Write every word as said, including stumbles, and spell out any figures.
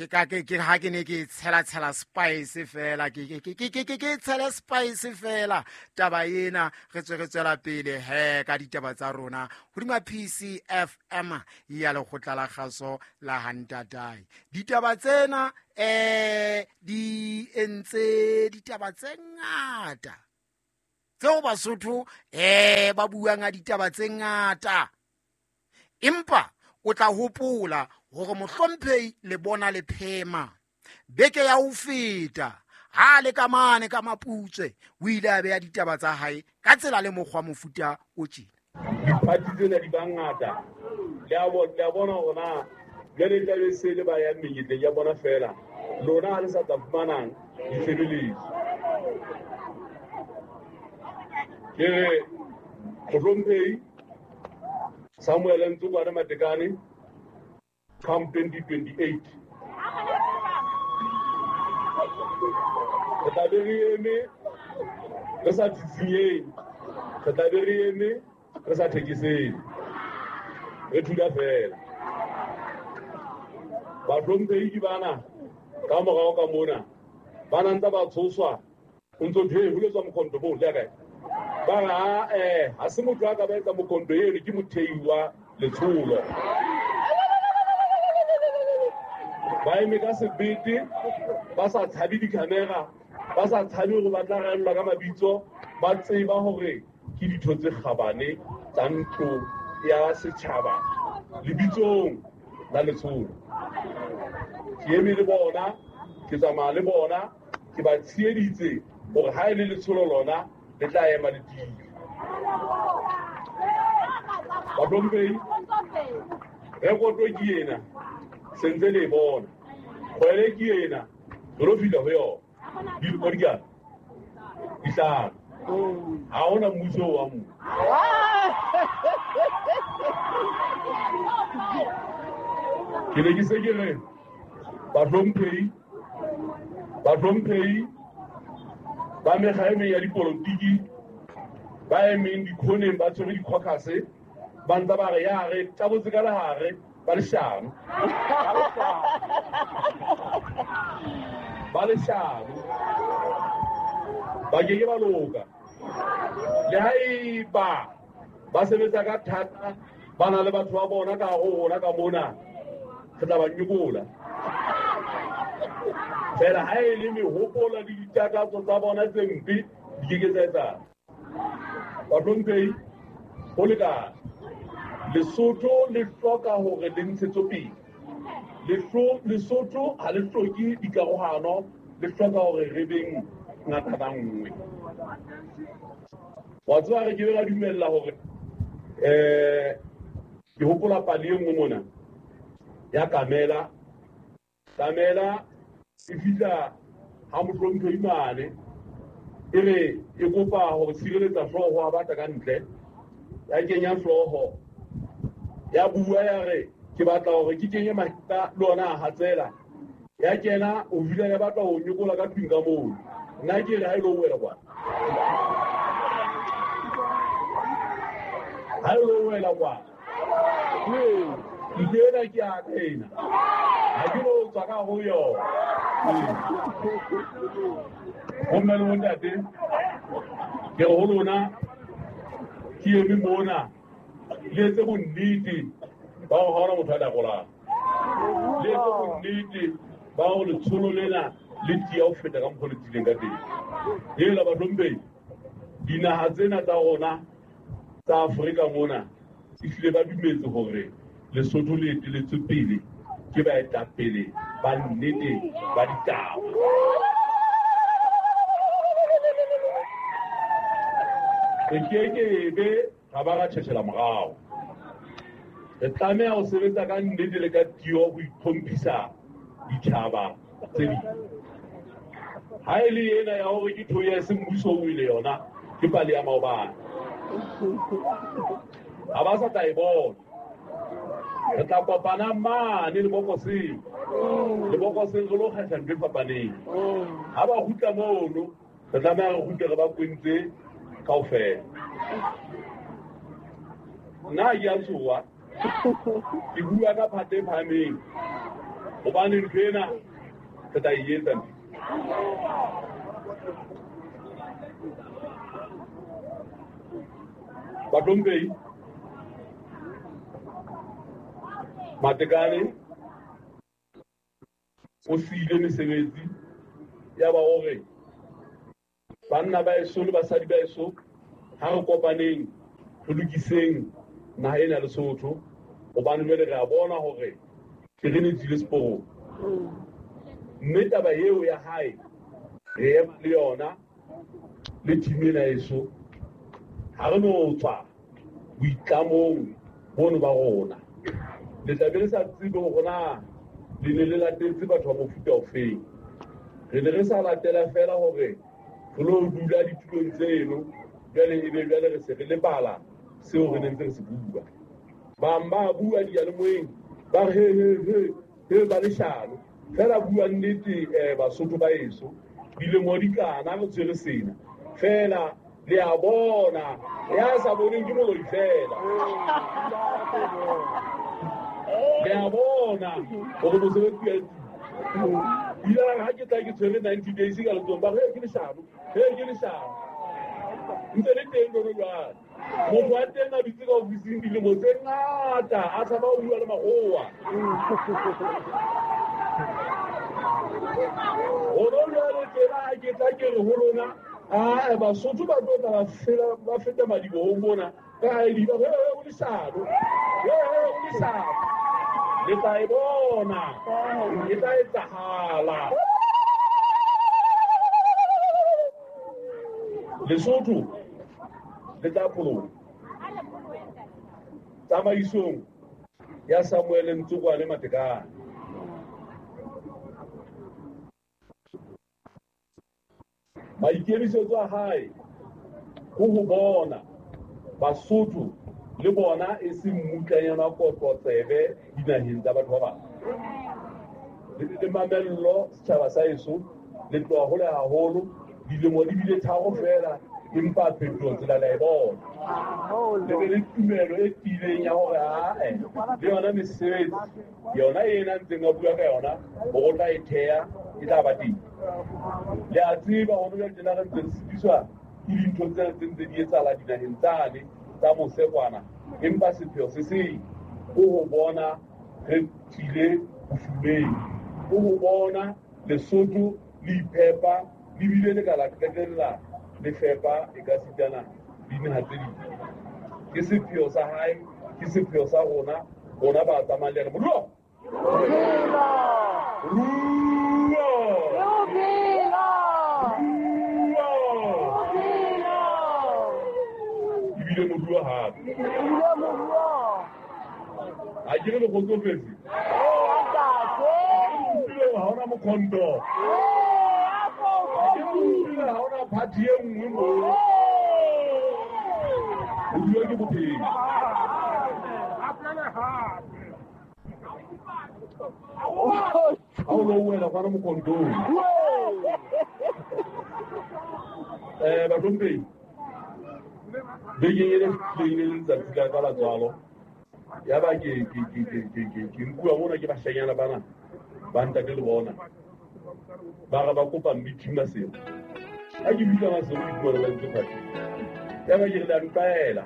Ke ka ke ke ha ke ne ke tshela tshela spice fela ke ke ke ke ke ke tshela spice fela taba ena re tswe re tswela pele he ka ditaba tsa rona hodima P C F M ya lekgotla la kgaso la Hantatai. Ditaba tsena eh di entse ditaba tse ngata tseo Basotho eh ba buang a ditaba tse ngata, empa o tla hopola hore mohlomphehi le bona le phema beke ya ho feta ha le ka mane ka Maputswe o ile a beha ditaba tsa hae ka tsela le mokgwa mofuta o tjena. Diphathi tsena di bangata le a bona, le a bona hore na jwale tla be se le ba yang menyetleng ya bona fela lona ha le sa tla fumanang ditshebeletso. Ke re mohlomphehi Samuel Ntsokwane Matekane come twenty twenty-eight. Re tla be re eme re sa tsitsinyeng, re tla be re eme re sa thekeseng, re thula fela. Bahlomphehi ke bana ka morao ka mona ba na ntse ba tshoswa o ntso thwe ho letswa mokhonto moo le ya kae? Ba re ha eh ha se motho a ka ba etsa mokhonto eno ke mothei wa letsholo. Ba eme ka sebete, ba sa tshabe di-camera, ba sa tshabe hore ba tla rellwa ka mabitso, ba tseba hore ke ditho tse kgabane tsa ntlo ya setjhaba lebitsong la letsholo. Ke eme le bona, ke tsamaya le bona, ke ba tsheheditse hore ha e le letsholo lona le tla ema le tiile. Bahlomphehi, rekoto ke ena, se ntse le e bona. Kgwele ke ena, re lo fihla ho yona. Dilemo di kae? Di hlano. Ha hona mmuso wa moo. Ke ne ke se ke re bahlomphehi, bahlomphehi ba mekga e meng ya dipolotiki ba emeng dikhoneng ba tshwere di-caucus ba ntse ba re ya re tabotse ka lehare ba leshano, ba leshano, ba ke ke ba loka. Le haeba ba sebetsa ka thata ba na le batho ba bona ka hare ho rona ka mona, re tla ba nyokola. Fela ha e le mehopolo le ditakatso tsa bona tse mpe di ke ke tsa etsahala. Bahlomphehi, ho lekane. Lesotho le hloka hore le ntshetsopele. Lesotho ha le hloke dikarohano, le hloka hore re beng ngata nngwe. Wa tseba re ke be ra dumella hore eh ke hopola pale e nngwe mona ya Kamela. Kamela e fihla ha mohlomphehi mane e re e kopa hore sireletsa hlooho ha batla ka ntle, ya kenya hlooho ya bua ya re ke batla hore ke kenye mahita le ona a hatsela, ya kena o fihla ya batla ho nyokola ka tlung ka moo. Nna ke re ha e lo wela kwana, ha e lo wela kwana ntlo ena ke ya ka ena, ha ke lo tswa ka ho yona. Bomme le bontate, ke re ho lona ke eme mona le etse bonnete ba hore ha hona motho a takolang, le etse bonnete ba hore letsholo lena le tiya ho feta ka mokgwa le tiileng ka teng. Hela bahlomphehi, dinaha tsena tsa rona tsa Afrika mona ehlile ba dumetse hore Lesotho le eteletswe pele ke baetapele ba nnete ba ditaba. Re kekebe ra ba ra tjhetjhela morao. Re tlameha ho sebetsa ka nnete le ka tiyo ho itlhomphisa ditjhaba tse ding. Ha e le ena ya hore ke thoya se mmuso o ile yona ke pale ya maobane, ha ba sa tla e bona. Re tla kopana mane lebokoseng, lebokoseng re lo kgetha ntho e fapaneng. Ha ba kgutla mono re tlameha re kgutle re ba kwentse kaofela. Nna ke a tshoha, ke bua ka phate e phahameng. Hobane ntho ena re tla e etsa ntho. Bahlomphehi, Matekane o siile mesebetsi ya ba hore banna ba eso le basadi ba eso ha re kopaneng re lokiseng naha ena Lesotho, hobane jwale re a bona hore terene e tswile seporong. Mme taba eo ya hae re ema le yona le team ena eso, ha re no tswa boitlamong bono ba rona. Le tla be le sa tsebe hore na le ne le latetse batho ba mofuta ofeng. Re ne re sa latela feela hore re lo dula ditulong tseno, jwale ebe jwale re se re lebala seo re neng re se bua. Bang ba bua diyalemoyeng ba re he he he he ba leshano, fela bua nnete eh Basotho ba eso dilemo di kana re tshwere sena fela le a bona ya sa boneng ke moloi fela. Le a bona hore mosebetsi wa etsuwa. Ile ha ke tla ke tshwere ninety days ka letsohong, ba re ke leshano, he ke leshano. Ntse le teng lona jwale. Motho wa teng a dutse ka ofising dilemo tse ngata a tshaba ho bua le makgowa. Hona jwale tjena ha ke tla ke re ho lona, ah Basotho ba tlo tla ba fela ba feta madibohong mona ka I D ba re o leshano, he he o leshano. Le tla e bona, e tla etsahala. Lesotho le tla pholoha tsamaisong ya Samuel Ntsokwane Matekane. Maikemisetso a hae ke ho bona Basotho le bona e seng mmutlanyana wa kotlo tsebe dinaheng tsa batho ba bang. Le le mamello setjhaba sa eso le tloha hole haholo, dilemo di bile tharo fela empa phetoho tsela la e bona. Le be le tumelo e tiileng ya hore ae le yona mesebetsi yona ena ntseng a bua ka yona hore o tla e theha e tla ba teng. Le a tseba hore jwale tjena re ntse re sitiswa ke dintho tsena tse ntse di etsahala dinaheng tsane tsa mose kwana, empa sepheo se seng ke ho bona re tswile bofumeng, ke ho bona Lesotho le iphepa le bile le ka la qetella le fepa e ka sitana dinaha tse ding. Ke sepheo sa hae, ke sepheo sa rona, rona ba tsamayang le yena. Moruo! Moruo! Moruo! Ebile moruo hape. Ha ke re le kgotsofetse? Ebile ha hona mokhonto. Ha ke utlwile ha hona party e nngwe moo. Moruo ke bophelo. Ha o lo wela kwana mokhontong. Eh bahlomphehi, bekeng e fetileng e le letsatsi la ka la tswalo, ya ba ke ke ke ke ke ke nkuwa mona ke bashanyana bana ba ntate le bona ba re ba kopa meeting Maseru. Ha ke bitsa Maseru ke fumana ba ntse party. Ya ba ke re le a ntlwaela.